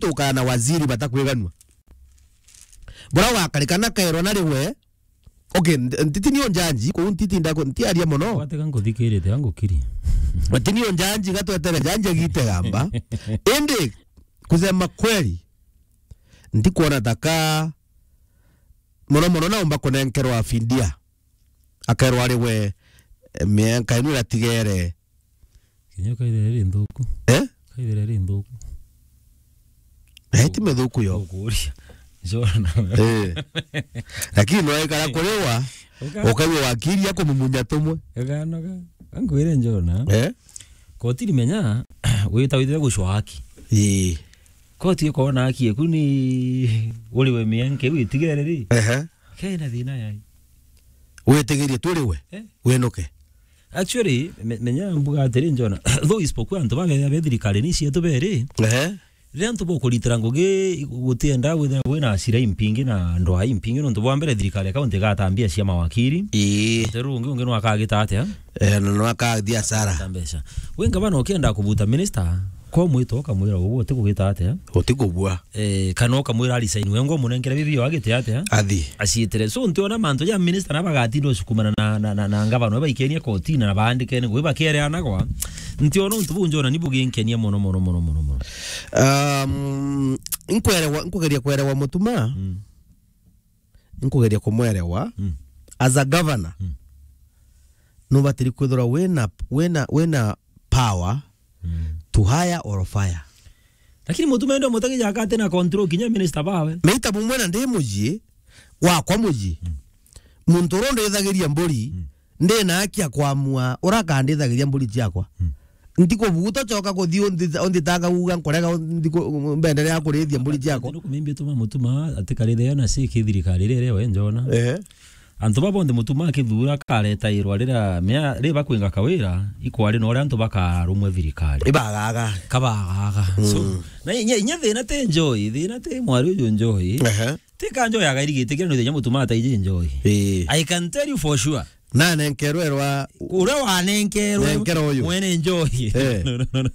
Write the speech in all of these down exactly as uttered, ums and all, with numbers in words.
tukaa na waziri batakwiganua. Bura wakarikana kairwa na riwe. Okay, nt-, ntiti nio njanji, kuu ntiti ndako, ntiaria mono. Watega nguthikirite, angukiri. Ati nio njanji, gatwetere njanji agite gamba. Indi, kusema kweli, ntikwona taka mono mono naumba kunenkerwa fidia. Akerwa ari we, eh, mienka inu iratigere. Kinya kaithira ri nthuku. Eh? Kaithira ri nthuku. Eh, ti mithuku yo. Ukuria. Njona. Eh. Lakini no ikara kuriwa, uka- ukaigua wakiri akumumunya tumwe. Ukanoga. Angwire njona. Eh? Koti rimenya, wita witire gucwa haki. Ii. Koti ikona haki eku ni uri we mienke witigere ri. Ehe. Kena thina yai. Witigirie tu uri we. Eh? Winuke. Actually, me-, menya mbuga atiri njona. Though ispokuwa antu babethia be thirikari ni cietu beri. Ehe. Riria antu bokuritira ngugi gutienda withira wina acira impingi na ndwaa impingi nontu bwa mbere thirikari ya kaunti igatambia cia mawakiri. Ii. Teru ungi ungi nwakagita atia? Eh, na nwakathia asara. Ta mbeca. We ngavana ukienda kubuta minister, ko mwito ukamwira uguo utikugita atia? Utikubua. Eh, kana ukamwira resign, we ngo munenkere bibi yo agite atia? Athi. Aciitire. So, ntiona mantu ja minister na bagatinda ucukumana na, na, na, na ngavana, we baikenie kotini na baandikene, ngui bakiereanagwa. Ntiona untu buu njona ni buginkenia mono, mono, mono, mono, mono. Um, nkwerewa, nkugeria kwerewa Mutuma. Mm. Nkugeria kumwerewa. Mm. As a governor, mm, nubatiri kwithirwa wina, wina, wina power, mm, to hire or fire. Lakini Mutuma ende mutagi jaka ati na control kinya minister bawe. Meita bumwe na ndi muji, wakwa muji. Mm. Muntu uria undithagiria mburi, mm, ndi na haki ya kwamua uria akandithagiria mburi ciakwa. Mm. Ntikubuta coka kuthi unthi-, unthitanga uga nkurega unthi-, ku-, mbenderea kurithia mburi ciakwa. Ndio kumimbi tuma Mutuma ati karithe na si kithirikari rere we njona. Ehe. Antu baba bonthe Mutuma akithura akaretairwa riria mea-, ri bakwinga Kawira, ikwari na uria antu bakarumwe thirikari. Ibagaga. Kabagaga. So, mm, na inya, inya thina ti njoi, thina ti mwari uyu njoi. Ehe. Ti ka njoi agairigite kira no inya Mutuma ataiji njoi. Ii. I can tell you for sure. Na nenkerwe rwa uria wanenkerwe nenkera uyu mwene njoi. Eh. No, no, no, no.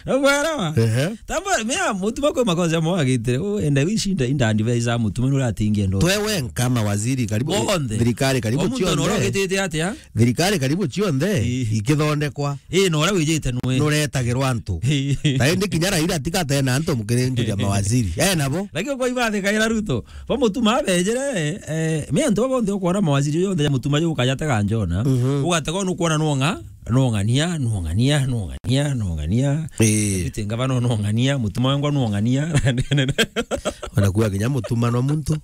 Nobwarawa? Ehe. Tamba, mea, Mutuma kwe makosa mo agitire. Oh, enda wishinda inda advise a Mutuma nura atingia ndo. Twe wenka mawaziri karibu, bonthe, thirikari karibu omuntu cionthe. Nora ogitite atia? Thirikari karibu cionthe, ii, ikithondekwa. Ii, na uria wijite nwe. Nuretagirwa antu. Ii. Na indi kinya Raila atigate na antu mukiri njuria mawaziri. Eh, nabo. Lakini kwa ibathi kaira Ruto. Ba Mutuma abejere, eh, me antu bonthe ukwona mawaziri yonthe ya Mutuma yo ukajatega njona. Mhm. Ugatega nukwona nonga, nongania, nongania, nongania, nongania. Eh. Biti ngavana nongania, Mutuma wengwa nongania. Wanakuwa kinya Mutuma no muntu.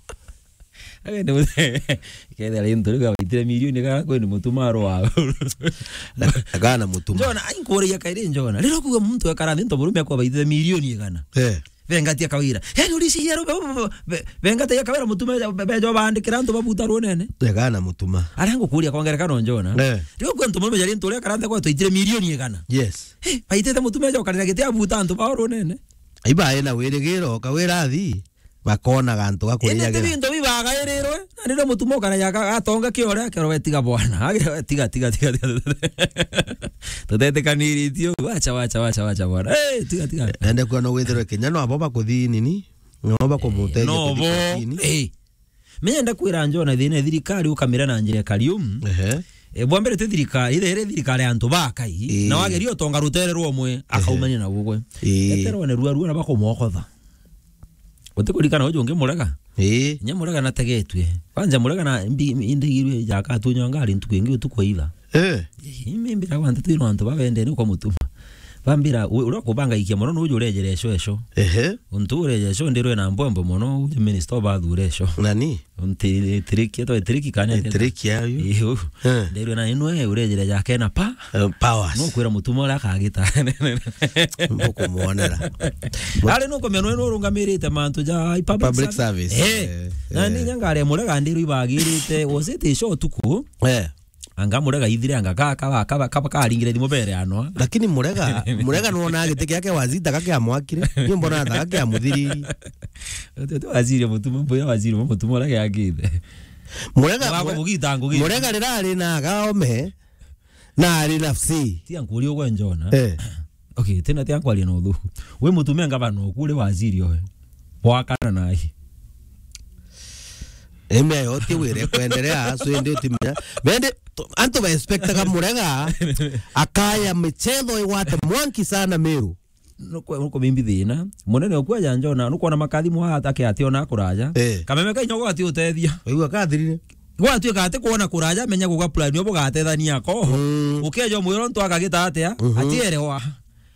Agende muthe. Kethira ri ntu riu gabaitire milioni kana kwe ni Mutuma arwa. Akana Mutuma. Njona, ai nkuria kairi njona. Riro kuga muntu ekara nthi nto burume akwa baitire milioni igana. Eh. Bengati akawira. Yaani urisi yero be-, be-, be-, bengati akawira Mutuma be-, be-, bejo bandikira antu babuta runene. Akana Mutuma. Aria ngukuria kwongera kana njona. Eh. Riro kwe ntu murume jari ntu ria karante kwa twaitire milioni igana. Yes. Hey, baitite Mutuma jo karira giti abuta antu ba runene. Iba ena wirigiro kawira athi. Bakonaga antu ga kuriagira. Indi ti bintu bibagairirwe, na riria Mutuma ukaraja aga-, atonga kiore, akerwa, "We tiga bwana." Akerwa, "We tiga, tiga, tiga, tiga." Tutetikaniritio, wacha, wacha, wacha, wacha bwana. Eh, tiga, tiga. Ende kuona withirwe kinya no abo bakuthi nini? No bakumuteithia no kuthi bo kotini. Eh. Menya ndakwira njona thina ya thirikari ukamira na njira ya karium. Ehe. E, bwa mbere ti thirikari, ithe iri thirikari ya antu bakai. Ii. Na wageria utonga rutere rwa umwe, ehe, akaumania na gugwe. Ii. Eterwa ne rua rua na bakumwokotha. Utikurikana uju ungi Murega? Ii. Nya Murega nategetue. Kwanza Murega na mbi-, indigirwe jaka atunywa ngari ntuku ingi utuku wa itha. Eh. Ii, mimbira kwanta twirwa antu babendene kwa Mutuma. Bambira, u-, uria kubangaikia mono nuju urejere eco eco. Ehe. Untu urejere eco ndirwe na mbwembo mono, uju minister obathure eco. Nani? Unti-, tiriki, etwa tiriki kana tiriki ayu. Iyo. Eh. Ndirwe na inwe urejere jake na pa. Eh, powers. No kwira Mutuma uria akagita. Mbukumwonera. Ari no kumenya nwe no urungamirite mantu ja public service. Public service. Eh. Eh, na eh, ni nyangare Murega ndirwe ibagirite, was it a show tuku? Eh. Anga Murega ithire anga ka, ka, ka, ka, ka, karingire thimu bere anwa. Lakini Murega, Murega nuona giti kiake waziri taka kia mwakire. Ni mbona taka kia muthiriri. Uti, uti waziri Mutuma, mbuya waziri Mutuma uria giakite. Murega, Murega, Murega rira ari na gaome, na ari na fsi. Tia nkuria ugwe njona. Eh. Okay, tena tia kwaria na uthuku. We mutumia ngavana oku uri waziri oe. Wakana naye. Eme yote wire kuendelea, so indi utimenya. Bende, to-, antu ba expectaga Murega akaya michetho igwate mwanki sana Meru. Nuko, nuko bimbi thina. Munene oku aja njona, nukwona makathi mwa atake ati ona kuraja. Eh. Kameme kainyo gati utethia. Waigua kathirire. Gwatuika ati kwona kuraja, menya guga plan yo bugatethania ko. Mm. Ukeja mwiro ntu akagita atia? Mhm. Atierewa.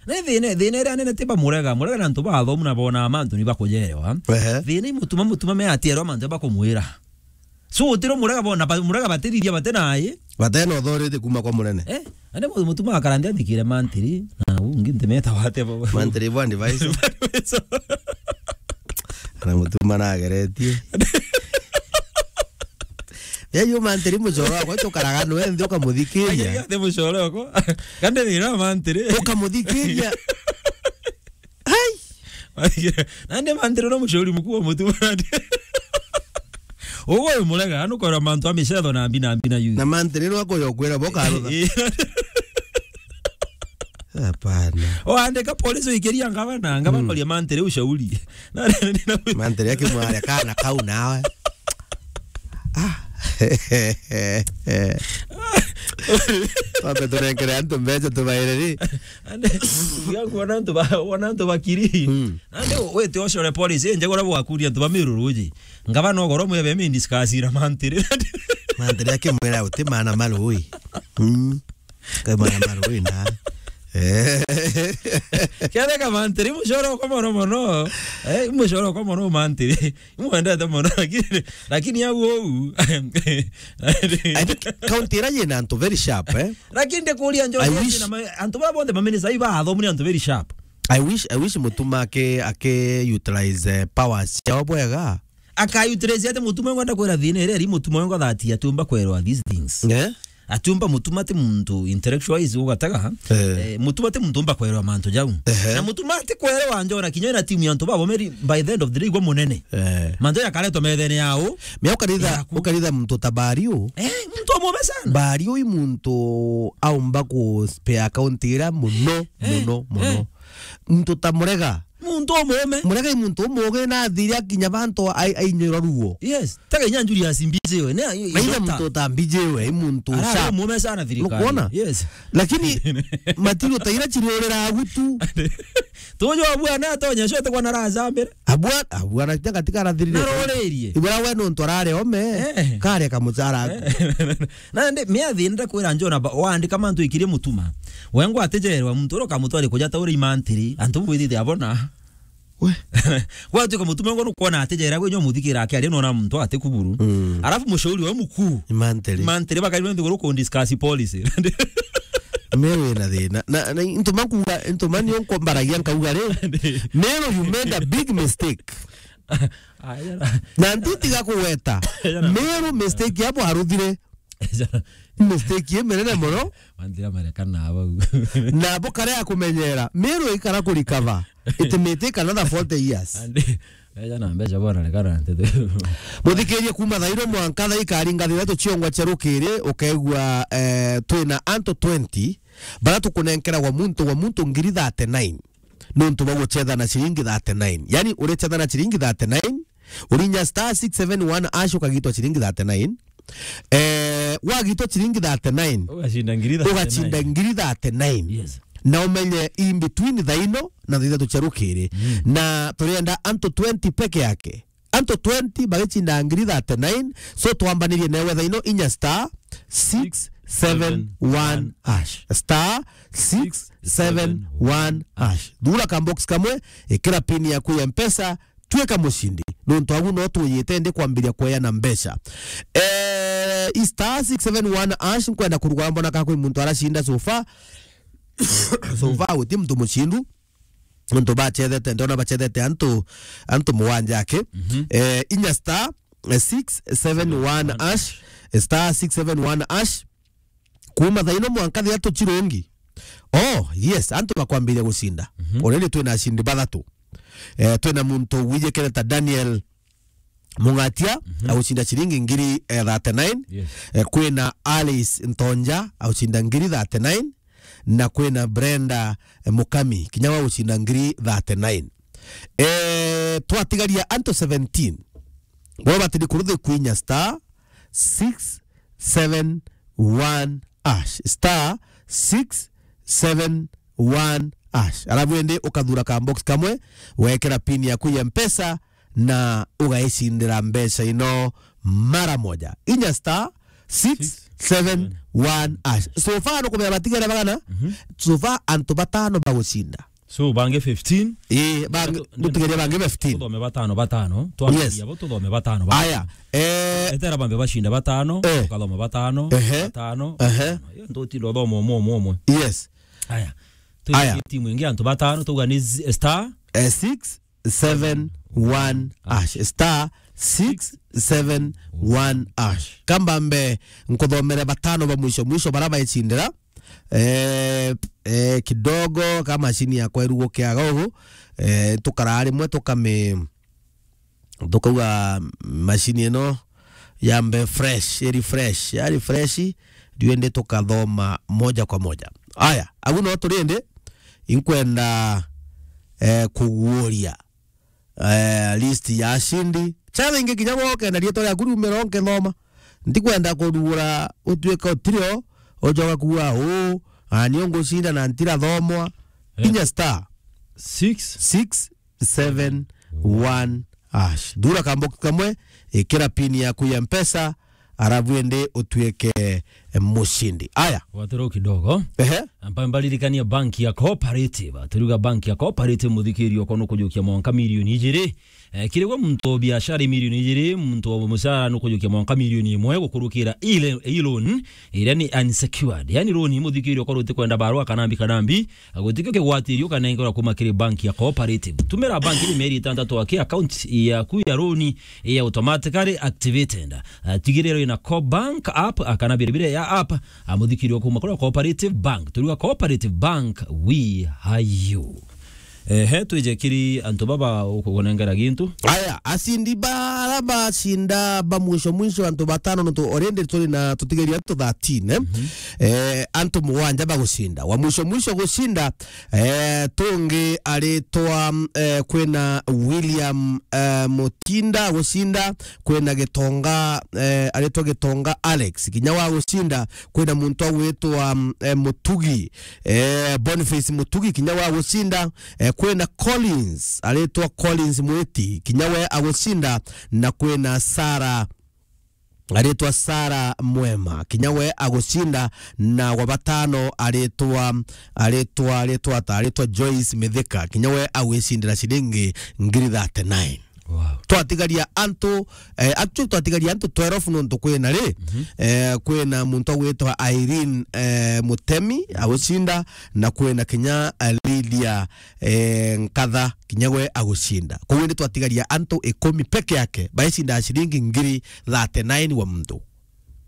Na thina, thina iria nene ti ba Murega. Murega na antu bathomu na bona mantu ni bakujerewa. Ehe. Thina i mutuma, mutuma me atierewa mantu bakumwira. So, utiro Murega bona, ba-, Murega batithithia bate naye. Bate na authority kuma kwa munene. Eh, ande mu-, mutuma akarandi athikire mantiri. Na ungi ntimeta wate bo. Mantiri bo advice. Ana mutuma na ageretie. Ya yu mantiri mucoro wakwa tukaraga nwe nthi ukamuthikiria. Ande mucoro wakwa. Kande thina mantiri. Ukamuthikiria. Hai! Nandi mantiri no mucori mukuu wa mutuma nandi. Ugo uyu Murega, anukwira mantu a micetho na mbi na mbi na yu. Na mantiri no akuya ukwira bo karutha. Hapana. Oandika polisi uikiria ngavana, ngavana oria mantiri ushauri. Na, na, na, Mantiri akimware kana kau nawe. Ah. Twambe tunenkere antu mbeca tubaire ri. Ande, ya kuona antu ba, kuona antu bakiri. Mm. Ande, wete ocore polisi, nje gora bwakuria antu ba Meru ruji. Ngavana ugoro mwebe mi discuss ira mantiri. Mantiri akimwira uti mana marui. Mm. Kai mana marui na. Eh. Ketheka mantiri, mucoro kwa mono mono. Eh, mucoro kwa mono mantiri. Imwendete mono, lakini, lakini au uu. I think county ira yina antu very sharp, eh? Lakini ndikuria njo I wish na ma-, antu baba bonthe maminista iba athomire antu very sharp. I wish, I wish mutuma ake, ake utilize, eh, powers ciao bwega. Aka utilize ate mutuma ngwenda kwira thina iri, ari mutuma ngo that atiumba kwerwa these things. Eh? Atiumba mutuma ti muntu intellectualize ugataga. Eh. Eh, mutuma ti muntu umba kwerwa mantu jau. Ehe. Na mutuma ti kwerwa njona kinya na timu ya antu babo meri by the end of the day igwa munene. Eh. Mantu ya karetwa methene yao. Mia ukaritha, yaku. Ukaritha muntu ta Bario. Eh, muntu omume sana. Bario i muntu aumba ku spare account ira muno, eh, muno, muno. Eh. Muntu ta Murega. Muntu umume. Murega i muntu umuge na athiri akinya bantu ai-, ainyura ruo. Yes. Tega inya Julius Mbijiwe. Ne, i-, i-, Maina doctor. Muntu ta Mbijiwe, i muntu sharp. Ara umume sana thirikari. Nukwona? Yes. Lakini matiro ta ira chiriorera agutu. Tujo abwana atonya shote kwa nara azambere. Abwa-, abwana tia katika arathirire. Narorerie. Ibura we nontu arare ome. Eh. Kare kamuchara aku. Eh. Na ndi, mia thina ndakwira njona ba-, waandika mantu ikirie mutuma. Wengwa atijerwa muntu uro kamutwari kuja taure imantiri. Antu bwithite abona. We. Gwatuika mutuma ngo nukwona atijera gwe nyo muthikira akiaria nona muntu ati kuburu. Mm. Alafu mushauri wa mukuu. Imantiri. Imantiri bakari muntu guru ku discuss policy. Meru ina thina. Na, na, ntuma kuga, ntuma nio nkombaragia nkauga ri. Meru, you made a big mistake. Aya. Na ntitiga kugweta. Aya na Meru mistake yabo aruthire. Mistake ye menene mono. Manthira marekana bau. Na bo kare ya kumenyera. Meru ikara ku recover. It may take another forty years. Andi, eja na mbeca bona rekana ntete. Muthikirie kuma thairo mwanka thaikari ngathira tuchiongwa cherukiri ukegua, eh, twina antu twenty bara tukunenkeragwa muntu wa muntu ngiri thirty-nine. Nontu bwa guchetha na ciringi thirty-nine. Yani, urechetha na ciringi thirty-nine, urinya star six seven one hash ukagitwa ciringi thirty-nine. Eh, wagitwa ciringi thirty-nine, ugacinda ngiri thirty-nine. Ugacinda ngiri thirty-nine. Yes. Na umenye in between thaino na thaithatu cia rukiri. Mm. Na turienda antu twenty peke yake. Antu twenty bagicinda ngiri thirty-nine. So twambanirie newe thaino inya star six seven one hash. Star six seven one hash. Thura ka box kamwe, ikira pin yaku ya Mpesa, tuika mucindi. Nontu agu no tuyite ndi kwambiria kweana mbeca. Eh, i star six seven one hash, nkwenda kurugara mbona ka kwi muntu aracinda so far. So far, guti muntu mucindu. Antu bachethete, ndona bachethete antu, antu muwanja ake. Mhm. Eh, inya star, eh, six seven one hash, star six seven one hash. Kuma thaino mwanka thiatu chirungi. Oh, yes, antu bakwambiria gucinda. Mhm. Already twina acindi bathatu. Eh, twina muntu wijikire ta Daniel Mungatia, mhm, agucinda ciringi ngiri, eh, thirty-nine. Yes. Eh, kwina Alice Ntonja, agucinda ngiri thirty-nine. na kwina Brenda, eh, Mukami, kinya wa gucinda ngiri thirty-nine. Eh, twatigaria antu seventeen. Bo batiri kuruthi kwinya star six seven one hash. Star six seven one hash. Alafu indi ukathura ka box kamwe, wekera pin yaku ya Mpesa, na ugaicindira mbeca ino mara moja. Inya star six seven one hash. So far, nukumenya batigere bagana? Mhm. So far, antu batano bagucinda. So, bangi fifteen? Ii, bangi, Ndeto, nutigeria bangi fifteen. Tuthome batano, batano. Yes. Twambiria bo, tuthome batano, batano. Aya, eh, etera bambe bacinda batano, eh, tukathoma batano, ehe, batano, ehe, batano. Iyo ntutinda uthoma umwe, umwe, umwe. Yes. Aya. Aya. Twi timu ingi antu batano, tuga ni z-, star. Eh, six seven one hash. Star six seven one hash. Kambambe nkuthomere batano ba mwisho mwisho bara baicindira. Eh, eh, kidogo ka mashini yakwa irugukiaga ugu, eh, tukaraa rimwe tukami-, tukauga mashini ino yambe fresh, i refresh, ya refresh, riu indi tukathoma moja kwa moja. Aya, au no turi indi, inkwenda, eh, kuguuria eh, list ya ashindi. Challenge kinya gwe ukenda riitwa riaku riumira unkithoma. Ndikwenda kurugura utuike utirio, ujoka kuuga, "Uu, ani ungucinda na ntirathomwa." Eh. Kinya star six six seven one hash. Thura kambox kamwe, ikira pin yaku ya Mpesa, arabu indi utuike, eh, mushindi. Aya. Gwatiro kidogo. Ehe. Amba mbaririkania bank ya Cooperative. Turiuga bank ya Cooperative, muthikirio okwa nukujukia mwanka milioni ijiri. Eh, kiri gwe muntu wa biashara milioni ijiri, muntu wa mucara nukujukia mwanka milioni imwe gukurukira ile, i loan iria ni unsecured. Yani loan muthikirio okwa rutikwenda barua kana mbi kana mbi, gutikio kigwatirio ukanengerwa kuma kiri bank ya Cooperative. Tumira bank ni mieri itantatu aki account yaku ya loan ya automatically activated. Ah, tigirira ina Co-bank app, ah, kana biribire ya app, ah, muthikirio kuma kuri Cooperative Bank. Turiuga Cooperative Bank, we are you. Ehe, twije kiri antu baba ukunengera gintu. Aya, ashindi bara bacinda ba mwisho mwisho, antu batano, nontu already turi na, tutigeria antu thirteen, eh? Mhm. Eh, antu mugwanja bagucinda. Wa mwisho mwisho gucinda, eh, tungi aritwa, eh, kwina William, eh, Mutinda gucinda, kwina Gitonga, eh, aritwa Gitonga Alex, kinya wa gucinda, kwina muntu agwitwa, mm, eh, Mutugi, eh, Boniface Mutugi, kinya wa gucinda, eh, kwina Collins, aritwa Collins Mwiti, kinya we agucinda, na kwina Sarah, aritwa Sarah Mwema, kinya we agucinda, na wa batano aritwa, aritwa, aritwa ata, aritwa Joyce Mithika, kinya we agwicindira ciringi ngiri thirty-nine. Wow. Twatigaria antu, eh, actually twatigaria antu twelve nontu kwina ri, mhm, eh, kwina muntu agwitwa Irene, eh, Mutemi agucinda, na kwina kinya, eh, Lydia, eh, Nkatha, kinya we agucinda. Koguo ni twatigaria antu ikumi peke yake baicinda ciringi ngiri thirty-nine wa muntu.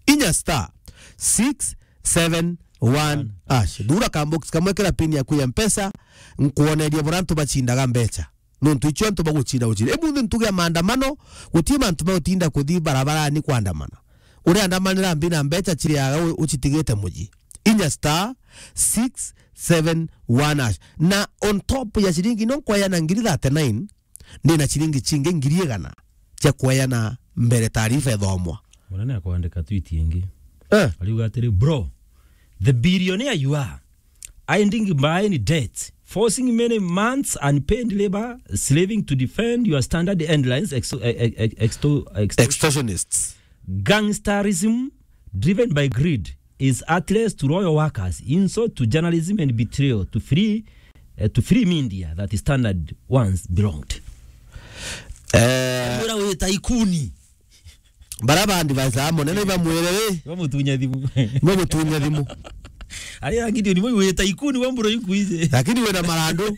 Inya star six seven one hash. Thura ka box kamwe, kira pin yaku ya Mpesa, nkuonerie bura antu bacindaga mbeca. Nontu icio antu bagucinda gucinda. Emunthi ntuge ya maandamano, guti mantu ma gutinda kuthi barabarani kwandamana. Uriandamanira mbi na mbeca ciriaga u-, ucitigite muji. Inya star six seven one hash. Na on top ya ciringi no nkwayana ngiri thirty-nine, ndina ciringi cingi ngiri igana cia kwayana mbere taarifa ithomwa. Munene akwandika tweet ingi. Eh. Ariuga atiri, "Bro, the billionaire you are, ending by any debt, forcing many months unpaid labor, slaving to defend your standard headlines, exto-, eh, eh, eh, exto-, exto-, extortionists, gangsterism driven by greed is heartless to loyal workers, insult to journalism and betrayal to free, eh, to free media that standard once belonged." Eh. Mwira wita ikuni. Bara bandi baca munene ibamwire ri? Ibamutunya thimu. Ibamutunya thimu. Ari ya Gideon, mwe wita ikuni wa mburo inkuije. Lakini wina marandu.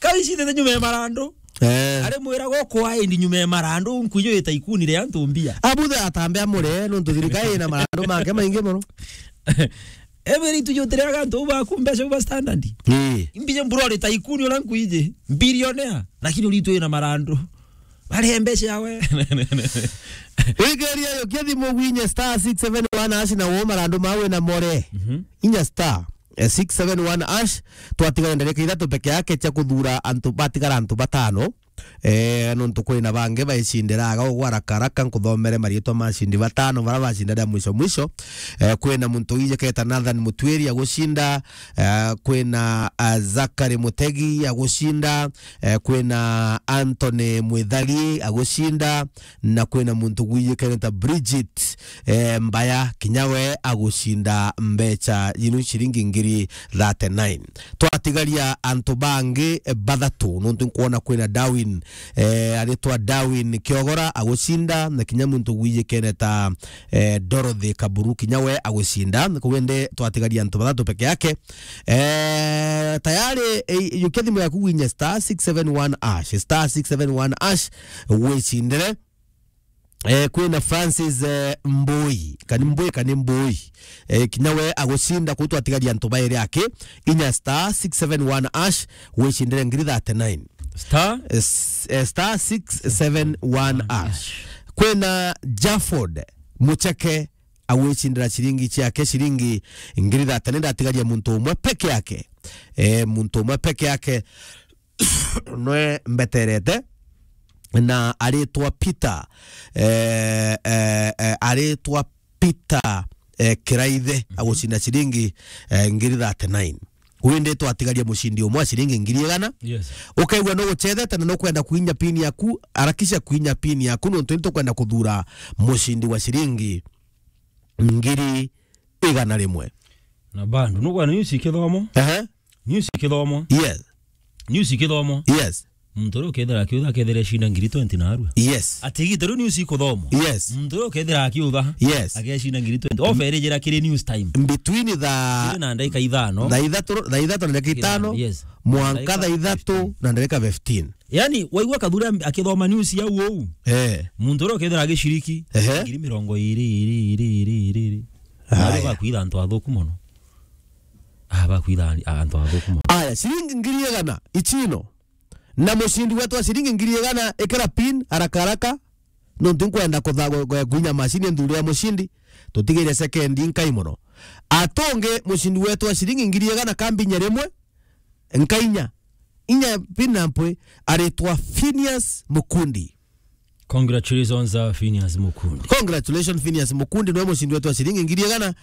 Kaicithete nyuma ya marandu. Eh. Ari mwira goko aindi nyuma ya marandu, nkuijo wita ikuni ria antu mbia. Abuthe atambe amure, nontu thirikari ina marandu make maingi muno. Ebere itujutire agantu baku mbeca ba standard. Ii. Mbija mburo rita ikuni ona nkuije. Billionaire. Lakini uritwe na marandu. Bari mbeca yawe. Wigeria yo kia thimu gwinye star six seven one hash na wo marandu mawe na more. Mhm. Inya star eh, six seven one hash, twatigara ndarika ithatu peke yake cia kuthura antu, batigara antu batano. Eh, nontu kwina bangi baicindiraga ugwa haraka haraka, nkuthomere mariitwa ma acindi batano bara bacinda ria mwisho mwisho. Eh, kwina muntu wijiketa Nathan Mutwiri agucinda, eh, kwina, ah, Zakari Mutegi agucinda, eh, kwina Anthony Mwithari agucinda, na kwina muntu gwijikene ta Bridget, eh, Mbaya, kinya we agucinda mbecha yinu ciringi ngiri thirty-nine. Twatigaria antu bangi, eh, bathatu, nontu nkwona kwina Darwin, eh, aritwa Darwin Kiogora agucinda, na kinya muntu gwijikene ta, eh, Dorothy Kaburu, kinya we agucinda. Koguo indi twatigaria antu bathatu peke yake. Eh, tayari, eh, yukia thimu yaku winya star six seven one hash, star six seven one hash, wicindire. Eh, kwina Francis, eh, Mbui, kani Mbui, kani Mbui. Eh, kinya we agucinda, kuu twatigaria antu bairi aki, inya star six seven one hash, wicindire ngiri thirty-nine. Star? Eh, s-, eh, star six seven one hash. Kwina Jafford Mucheke, agwicindira ciringi ciake, ciringi ngiri thirty-nine, ndatigaria muntu umwe peke yake. Eh, muntu umwe peke yake. Nwe mbeterete, na aritwa Peter, eh, eh, eh, aritwa Peter, eh, Kiraithe, agucinda ciringi, eh, ngiri thirty-nine. Windi twatigaria mucindi umwe wa ciringi ngiri igana. Yes. Ukaigua no gucethete na no kwenda kuinya pin yaku, harakisha kuinya pin yaku, nontu ni tukwenda kuthura mucindi wa ciringi ngiri igana rimwe. Na bado, nukwona news ikithomwa? Ehe. News ikithomwa? Yes. News ikithomwa? Yes. Muntu uria ukethira akiutha akethira ecinda ngiri twenty narua. Yes. Ati igita riu news ikuthomwa? Yes. Muntu uria ukethira akiutha, yes, agecinda ngiri twenty. Offer irijira kiri news time. Between the, kiri na ndagika ithano. Thaa ithatu, thaa ithatu na ndagika ithano, yes, mwanka thaa ithatu na ndagika fifteen. Yani, waigua Kathuri am-, akithoma news ya uu, eh, muntu uria ukethira agiciriki, ehe, ngiri mirongo iri, iri, iri, iri, iri, iri. Aya. Na bakwitha antu athuku mono. Ah, bakwitha antu athuku mono. Aya, ciringi ngiri igana, ichino. Na mucindi wetu wa ciringi ngiri igana, ikira pin, haraka haraka. Nontu nkwenda kutha-, gwe-, gwe-, gwinya macini nthurire mucindi. Tutigire sekendi nkai mono. Atonge mucindi wetu wa ciringi ngiri igana kambinya rimwe. Nkainya. Inya pin na mpwi aritwa Phineas Mukundi. Congratulations, uh, Phineas Mukundi. Congratulations, Phineas Mukundi, niwe mucindi wetu wa ciringi ngiri igana.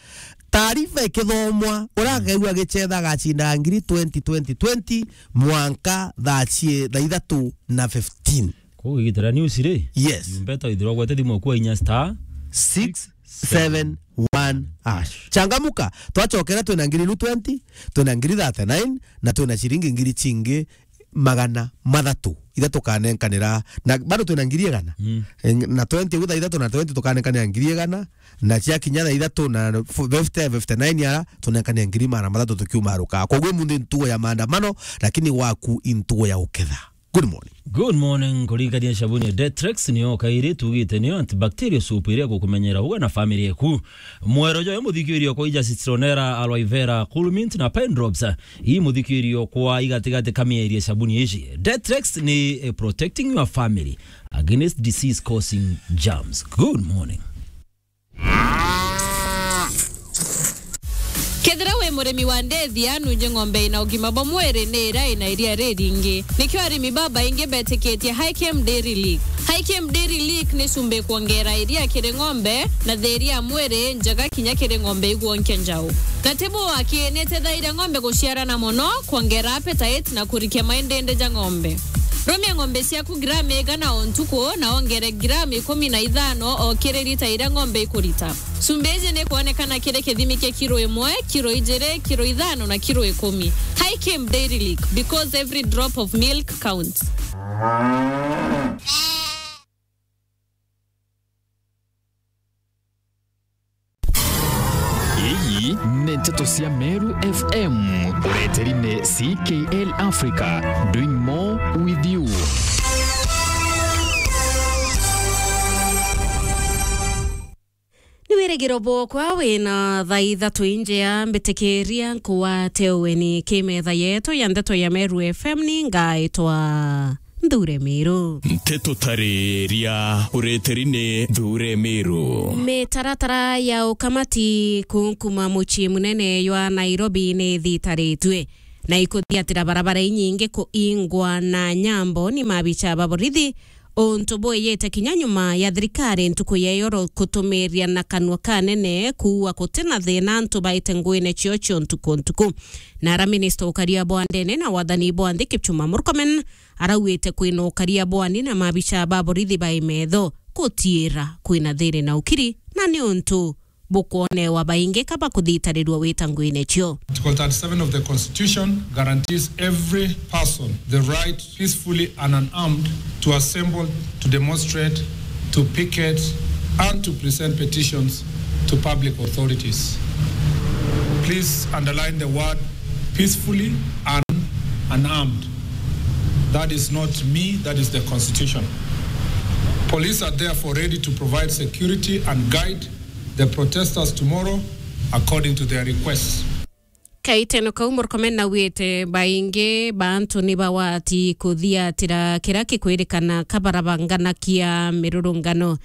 Taarifa ikithomwa, uria akaigua agicetha agacinda ngiri twenty, twenty, twenty, mwanka thaa cie-, thaa ithatu na fifteen. Koguo igitira news ri? Yes. Mbeta ithirwa gwete thimu kwa inya star six seven one hash. Changamuka, twachokera twina ngiri ilu twenty, twina ngiri thirty-nine, na twina ciringi ngiri chingi magana mathatu, iria tukanenkanira, na bado twina ngiri igana. Mm. Eh, na twenty, gutha ithatu na twenty tukanenkanira ngiri igana, na ciakinya thaa ithatu na fifty, fifty-nine ara, tunenkanire ngiri magana mathatu tukiuma ruka. Koguo munthi ntugo ya maandamano, lakini waku intugo ya uketha. Good morning. Good morning, kuringania sabuni ya Detrex, niyo kairi tugite niyo antibacterial soap iria gukumenyera uga na family yaku. Mwero joyo muthikiri okwa ija citronella, aloe vera, cool mint na pine drops. Ii muthikiri okwa igatigati ka mieri ya sabuni ici. Detrex ni, eh, protecting your family against disease causing germs. Good morning. Kethira wi murimi wa ndethia, nunje ng'ombe ina ugima bwa mwiri ni iria ina iria riringi. Nikio arimi babaingi betikitie Hikem Dairy Lick. Hikem Dairy Lick ni cumbi kwongera iria kiri ng'ombe na thiria ya mwiri njega kinya kiri ng'ombe igwonkia njau. Na ti buu aki, ni itethairia ng'ombe guciarana mono, kwongera appetite na kurikia maindindi ja ng'ombe. Rumia ng'ombe ciaku gramu igana o ntuku na wongere gramu ikumi na ithano o kiri rita iria ng'ombe ikurita. Cumbi iji ni kwonekana kiri kithimi kia kiro imwe, kiro ijiri, kiro ithano na kiro ikumi. Hikem Dairy Lick, because every drop of milk counts. Ii ni nteto cia Meru F M, ureteri ni C K L Africa, doing more with you. Ni wirigiro bwokwa wina thaa ithatu injea, mbitikiria nkuwate ueni ki metha yetu ya nteto ya Meru F M, ni ngaitwa Nthure Miru. Nteto tariria ureteri ni Nthure Miru. Mitaratara ya ukamati kunkuma mucii munene jwa Nairobi ni ithitaritue, na ikuthiatira barabara inyingi kuingwa na nyambo ni mabicha ba borithi, untu bwiyite kinya nyuma ya thirikari ntuku ya iyoro kutumiria na kanua kanene kuua guti na thina antu baite nguine cio cio ntuku ntuku. Nara minista ukaria bwa ndene na wathani bwa nthi Kipchumba Murkomen arauite kwina ukaria bwani na mabicha ba borithi bai metho gutiira kwina thiri na ukiri, na ni untu bukwonewa baingi ka bakuthitarirua wita nguine cio. Article thirty-seven of the Constitution guarantees every person the right peacefully and unarmed to assemble, to demonstrate, to picket, and to present petitions to public authorities. Please underline the word peacefully and unarmed. That is not me, that is the Constitution. Police are therefore ready to provide security and guide the protesters tomorrow according to their requests. Kaiteno kau Murkomen naugite baingi ba antu ni bawati kuthiatira kira kikwirikana kabarabanganakia mirurungano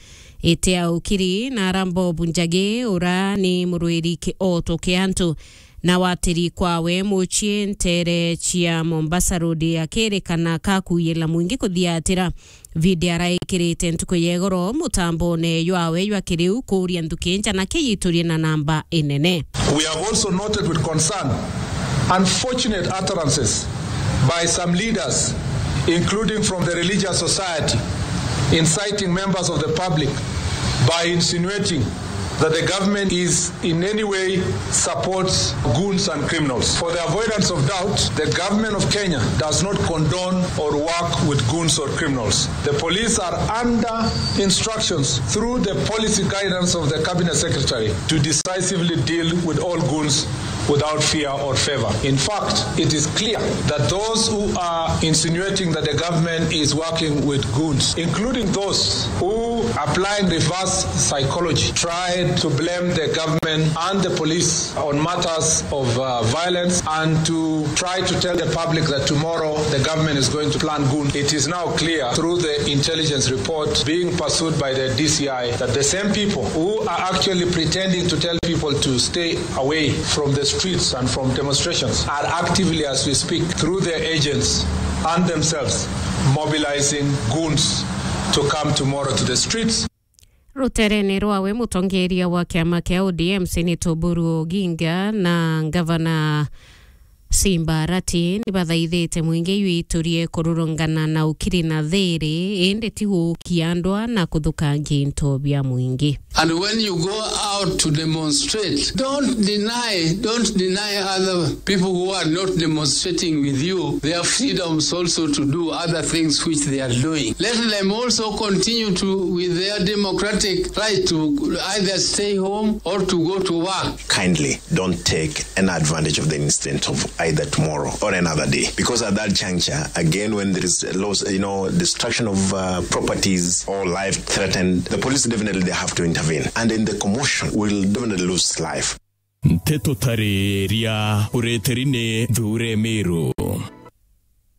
ite ya ukiri na arambo bunjagi ura ni murwiri kioto kia antu na watiri kwawe mucii ntere cia Mombasa Road akirikana kakuyila mwingi kuthiatira. Video araikirite ntuku ya igoro mutambone jwawe jwa kiriu kuuria nthuki nja na kiyiturie na namba inene. We have also noted with concern unfortunate utterances by some leaders, including from the religious society, inciting members of the public by insinuating that the government is in any way supports goons and criminals. For the avoidance of doubt, the government of Kenya does not condone or work with goons or criminals. The police are under instructions through the policy guidance of the cabinet secretary to decisively deal with all goons without fear or favor. In fact, it is clear that those who are insinuating that the government is working with goons, including those who applying reverse psychology, tried to blame the government and the police on matters of, uh, violence and to try to tell the public that tomorrow the government is going to plant goons. It is now clear through the intelligence report being pursued by the D C I that the same people who are actually pretending to tell people to stay away from the streets and from demonstrations are actively, as we speak, through their agents and themselves, mobilizing goons to come tomorrow to the streets. Ruterene rwawe, mutongeria wa kiama kia O D M Senator Oburu Oginga na ngavana Simba Arati ni bathaithite mwingi jwiturie kururungana na ukiri na thiri, indi ti gukia ndwa na kuthukangia into bia mwingi. And when you go out to demonstrate, don't deny, don't deny other people who are not demonstrating with you their freedoms also to do other things which they are doing. Let them also continue to, with their democratic right to either stay home or to go to work. Kindly don't take an advantage of the incident of either tomorrow or another day, because at that juncture, again, when there is a loss, you know, destruction of, uh, properties or life threatened, the police definitely they have to intervene, and in the commotion, will definitely lose life. Nteto tariria ureteri ni Nthure Miru.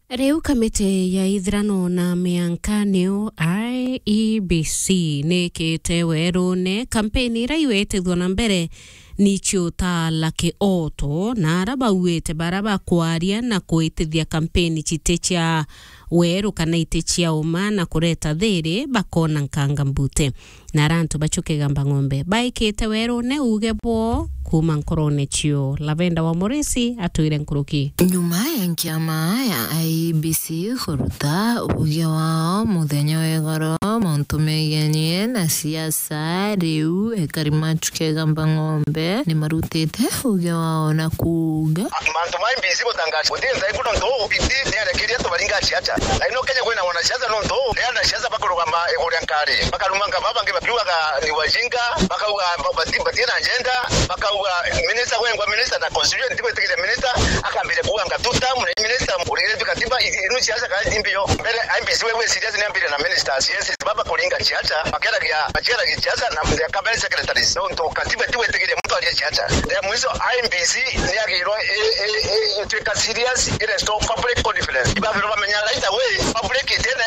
Riu kamiti ya ithirano na mianka niyo I E B C nikite werune kampeni iria iwitithwa na mbere ni ciutala kioto, na ara bauite bara bakwaria na kuitithia kampeni citi cia weru kana iti cia uma na kureta thiri bakona nkanga mbute. Na ara antu bacu Kigamba Ng'ombe baikite werune uge bwoo kuuma nkorone cio. Lavenda wa Murisi atwire nkuruki. Nyuma ya nkiama ya I E B C kuruta uge wao muthenya wa igoro mauntu megenie na siasa, riu ekari macu Kigamba Ng'ombe ni marutite uge wao na kuuga. Mantu ma I E B C gutangaza guti nthai kuno ntu biti niarekeria tubaringa ciaca. Na ino Kenya kwina wanasiasa nontu ni anasiasa bakurugama iguru ria nkari. Bakarumanga baba bangi bakiugaga ni wajinga, bakauga ba-, bati-, batina agenda, bakauga minister gwengwa minister na constitution ntigwitikiria minister, akambire kuuga ngatuta mune minister urire tu katiba i-, inu siasa kana timbio. Mbere I E B C wewe serious ni ambire na ministers. Yes, baba kuringa siasa, bakeragia, bakeragia siasa na their cabinet secretaries. Nontu katiba tigwitikiria muntu aria siasa. Their mwiso I E B C ni agirwo i-, i-, i-, itwika serious, i restore public confidence. Ibagirwo bamenya right away, public itienda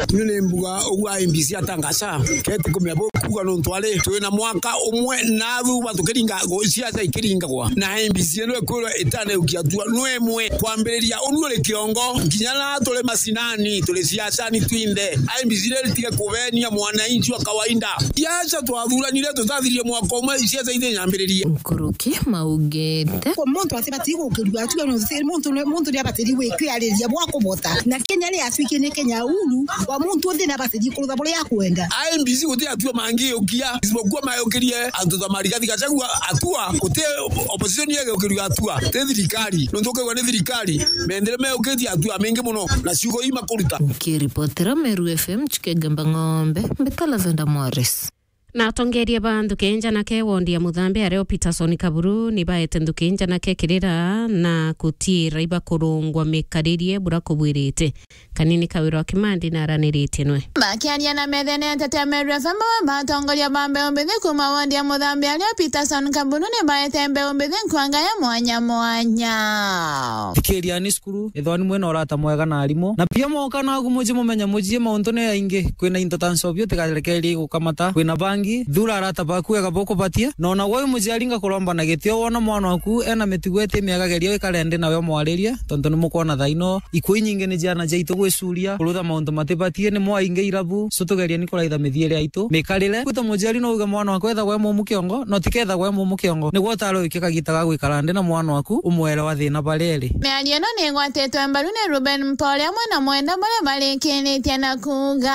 Ni ni mbuga ugu I E B C atangaza, keti kumenya bu kuuga nontu ari twina mwaka umwe na thuba tukiringa gu-, siasa ikiringagwa. Na I E B C ino ikwirwa itaneukia atua no imwe kwambiriria unu uri kiongo, nginya na turi macinani, turi siasani twinthe. I E B C ni ritige kubenia mwananchi wa kawaida. Siasa twathuranire tutathirie mwaka umwe, siasa ithinyambiririe. Nkuruki maugite. Kwa muntu atibati gukirua atua no, muntu, muntu ni abati gwi-, kwiariria bwa kubota. Na Kenya ri atuikie ni Kenya uru, wa muntu uthi na abati kurutha buria akwenda. I E B C guti atua mangiukia, isipokuwa mayukirie antu ta Rigathi Gachagua atua, guti opposition yegeukiria atua, ti thirikari. Nontu ukaigua ni thirikari, mendere meyukitie atua mengi muno, na ciugo ii makuruta. Nkiripotera Meru F M, Chikegamba Ng'ombe, mbita Lavenda Morris. Na atongeria ba nthuki njanake wondi ya Muthambi ario Peterson Kaburu ni baete nthuki njanake kirira na kutiira ibakurungwa mikaririe bura kubwirite. Kanini Kawira wa Kimandi na araniritie nwe. Bakiaria na methene ya Ntetea Meru F M, bamwe ba atongoria ba mbeu mbithi kuma wondi ya Muthambi ario Peterson Kaburu ni baete mbeu mbithi nkwanga ya mwanya mwanya. Thikiriani cukuru, ithwani mwina urata mwega na arimu. Na pia mwoka naku muji mumenye muji mauntu ni aingi. Kwina into ta ncobi utigarekerie gukamata. Kwina bangi, thura arata baku wega bukubatie. Na ona gwe muciari ngakuromba na gitio wona mwana waku ena mitugo iti miega geria wikare nthi nawe umwaririe, tontu ni mukwona thaino ikuo inyingi ni ciana ciaitu gwicuria, kurutha mauntu matibatie, ni mwaingi irabu, so tugeria ni kuraitha mithiire yaitu mikarire. Gwi ta muciari no uge mwana waku ethagwa e mumu kiongo, na utikethagwa e mumu kiongo. Nigwe utare uikie kagita ga gwikara nthi na mwana waku, umwere wa thina baria eri. Miario ino ni igwatitwe mbaru ni Ruben Mpore amwe na mwenda baria barikiritie na kuuga.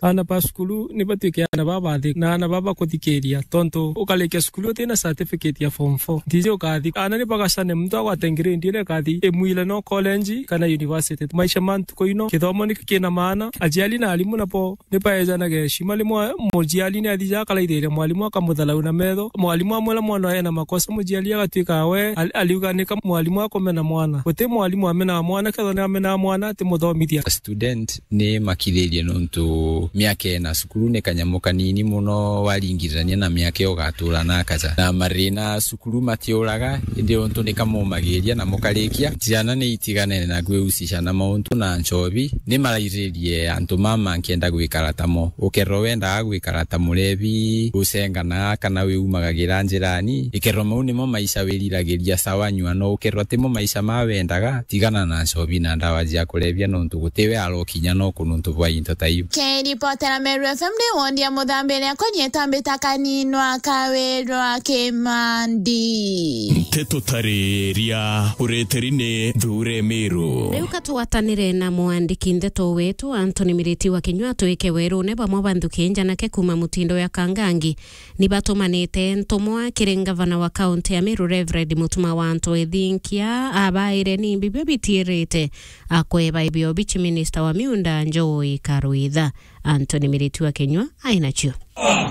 Aana ba cukuru ni batuike aana babathi na aana babakuthikiria, tontu ukarikia cukuru utina certificate ya form four, ntiji ukathi. Aana ni bagacane, muntu agwate grade iria ikathi imwire no college kana university. Maisha ma ntuku ino, kithomo ni kina maana. Aciari na arimu nabo ni baejanage heshima. Rimwe muciari ni athija akaraithiria mwarimu, akamutharau na metho. Mwarimu amwira mwana ena makosa, muciari agatuika we al-, ariuganika mwarimu akumena mwana. Guti mwarimu amenaa mwana, kethira ni amenaa mwana, ati muthomithia. Student ni makithirie nontu miaka ena cukuru ni kanyamu kanini muno waringithania na miaka iyo ugatura na akaja. Na marina cukuru matiuraga, indi untu ni kamumagiria na mukarikia. Ciana ni itiganene na kwiusica na mauntu na nchobi, ni marairirie antu mama nkienda gwikara tamo. Ukerwa wendaga gwikara ta murebi, ucenganaga kana wiumagagira njirani, ikerwa mau nimo maisha wiriragiria sawa nyua no ukerwa timo maisha ma wendaga, tigana na nchobi na ndawa cia kurebia nontu gutiwe arokinya no kununtu bwa into ta iu. Kiripotera Meru F M ndi wondi ya Muthambi iria konyeta mbita kaninwa Kawirwa Kimandi. Nteto tariria ureteri ni Thure Meru. Riu ka twatanire na mwandiki ndeto wetu Anthony Miriti wa Kinyua twike werune bamwe ba nthuki njanake kuma mutindo ya Kangangi ni batumanite ntumwa kiri ngavana wa kaunti ya Meru Reverend Mutuma wa Anto Ethinkia abaire ni mbibio bitiirite akweba ibio bichi minister wa miunda Njoi Karwitha. Anthony Miriti wa Kinyua ainacio.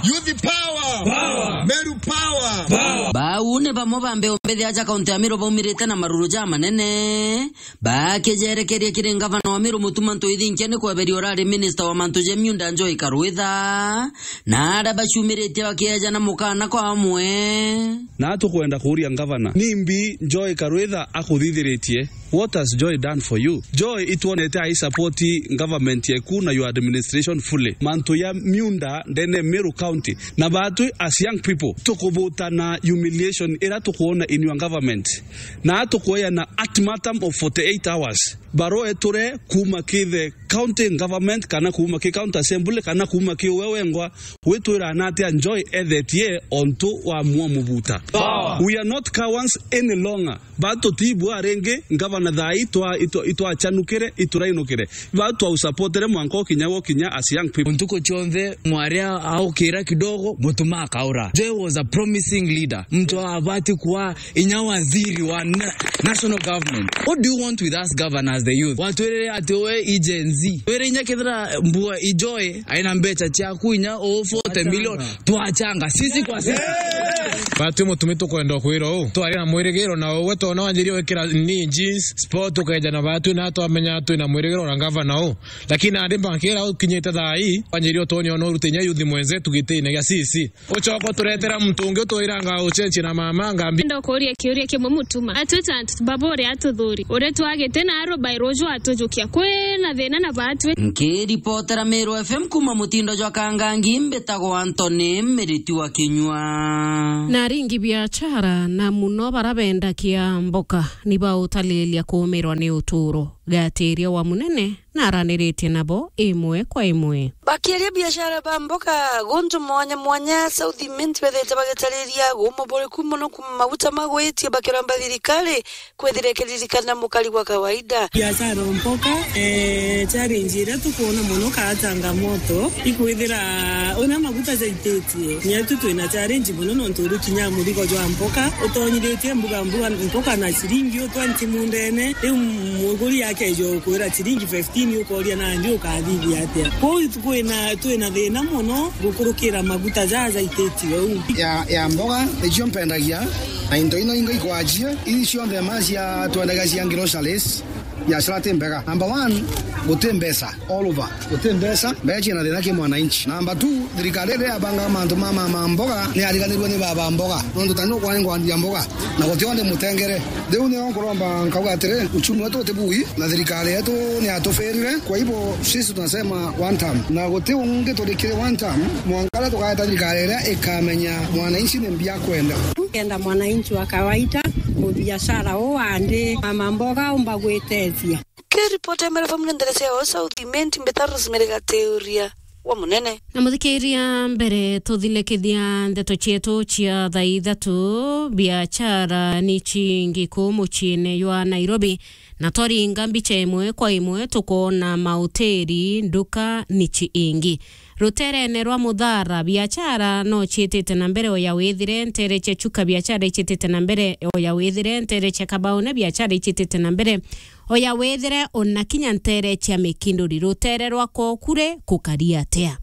Youth power! Power! Meru power! Power! Bau ni bamwe ba mbeu mbithi aja kaunti ya Meru baumirite na maruru ja manene, bakijerekeria kiri ngavana wa Meru Mutuma Ntoithinkia ni kweberia urari minister wa mantu ja miunda Njoi Karwitha, na aria baciumiritie bakiejana mukana kwa amwe. Na tukwenda kuuria ngavana, nimbi Njoi Karwitha akuthithiritie? What has Joy done for you? Joy itwonete ai support government yeku na your administration fully. Mantu ya miunda ndene Meru County. Na batwi as young people, tukubuta na humiliation ira tukuona in your government. Na tukueana ultimatum of forty-eight hours. Barua eture kuma ki the county government, kana kuma ki county assembly, kana kuma ki uwe wengwa, witwira na atia Njoi ethetie ontu wa mwo mubuta. Power. We are not cowards any longer. Batu tibwa ringi, ngavana thaa ii twa-, itwa-, itwachanukire, iturainukire. Batu twausupportere mwanka ukinya gukinya as young people. Ntuku cionthe, mwari a-, aukira kidogo, Mutuma akaura. Joy was a promising leader. Mtu abati kuwa inya waziri wa na-, national government. What do you want with us governors, the youth? Watwirire ati we i Gen Z. Wire inya kethira mbua i Joy, aina mbecha ciaku inya o forty million. Twachanga. Twachanga. Sisi kwa sisi. Batwi Mutumi tukwenda kwira uu. Twari na mwirigiro na ugwe tona wanjirie gwikira ni jeans, sport ukeja na batwi na twamenya twina mwirigiro na gavana uu. Lakini nandi mbakira ukinyite thaa ii, wanjirie utonya no urute inya yuthi mwenze tugitine gia C C. Ucoka uturetera muntu ungi utwiranga uchenchi na mama ngambi. Ndo kuria kiuria kimwe Mutuma. Atwita antu baba uria atuthuri. Uria twagite na aro by rojo atujukia. Kwina thina na batwi. Nkiripotera Meru F M kuma mutindo jwa Kangangi, mbitagwa Anthony Miriti wa Kinyua. Na aringi biachara na muno bara bendakia mboka ni bautalilia kuumirwa ni uturo. Gatiria wa munene na araniritie nabo imwe kwa imwe. Bakiaria biashara ba mboga guntu mwanya mwanya South Imenti bethite bagitariria gumuburiku mono kuma maguta magwitie bakiromba thirikari kwithira ikiririkana mukari wa kawaida. Biashara mboga, eh, challenge iria tukwona mono kaa changamoto ikwithira una maguta jaititie. Nyetu twina challenge mono nontu uri kinya murigo jwa mboga utonyithitie mbuga mbuga mboga na ciringi u twenty mundene, riu muguri akeja ukwira ciringi fifteen ukoria nandi ukathithia atia? Kwou kwina twina thina mono gukurukira maguta jaja jaititie uu. Ya, ya mboga nicio mpendagia, na into ino ingi ikwajie, ii cionthe ma cia twendagia cia groceries, biashara ti mbega. Number one, guti mbeca all over. Guti mbeca, mbeca ciina thina ki mwananchi. Number two, thirikari iria yabanga mantu ma, ma, ma mboga ni yariganirwe ni baba mboga. Nontu tani ukwa ni ngwandia mboga, na guti onde mutengere. Riu nio nkuromba nkauga atiri, uchumi wetu uti bui, na thirikari yetu ni yatufirire. Kwa hivyo, sisi tunasema one term. Na guti ungi turikire one term, mwanka riria tukaeta thirikari iria ikamenya mwananchi ni mbia akwenda. Kenda mwananchi wa kawaida, mubiashara uu andi, mama mboga umba gwitethia. Kiripoti ya Meru F M ni nderecia ya South Imenti, mbita Rosemary Gateuria wa Munene. Na muthikiria, mbere tuthilekithia ndeto cietu cia thaa ithatu, biachara ni cingi kuu muciine jwa Nairobi, na twaringa mbicha imwe kwa imwe tukoona mauteri, nduka ni ciingi. Ruterene rwa Muthara, biachara no ciitite na mbere oya withire ntere cia Chuka, biachara icitite na mbere oya withire ntere cia Kabaune, biachara icitite na mbere oya withire ona kinya ntere cia Mikinduri. Rutere rwa Kokure kukari atia?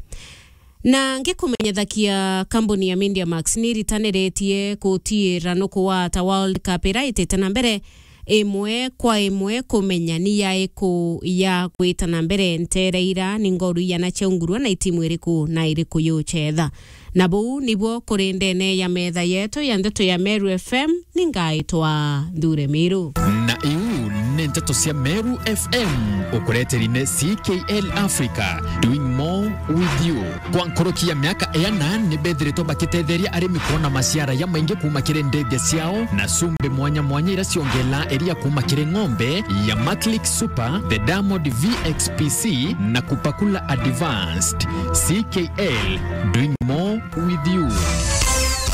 Na ngikumenyethakia, kambuni ya Media Max ni iritaniritie kutiira nuku wa ta World Cup ira itite na mbere imwe kwa imwe kumenya ni yaiku ya gwita na mbere ntere ira ni ngoru igana cia ungurua na itimu iriku na iriku yucetha. Na buu nibuo kuri ndene ya metha yetu ya ndeto ya Meru F M, ni ngaitwa Nthure Miru. Na iu ni ndeto cia Meru F M, ukureteri ni C K L Africa, doing more with you. Kwa nkoroki ya miaka iana, ni bethiritwe bakitetheria arimi kwona maciara ya maingi kuuma kiri ndethia ciao na cumbi mwanya mwanya ira ciongela iria kuuma kiri ng'ombe ya Maclick Super, the Diamond V X P C na Kupakula Advanced. C K L, doing more with you.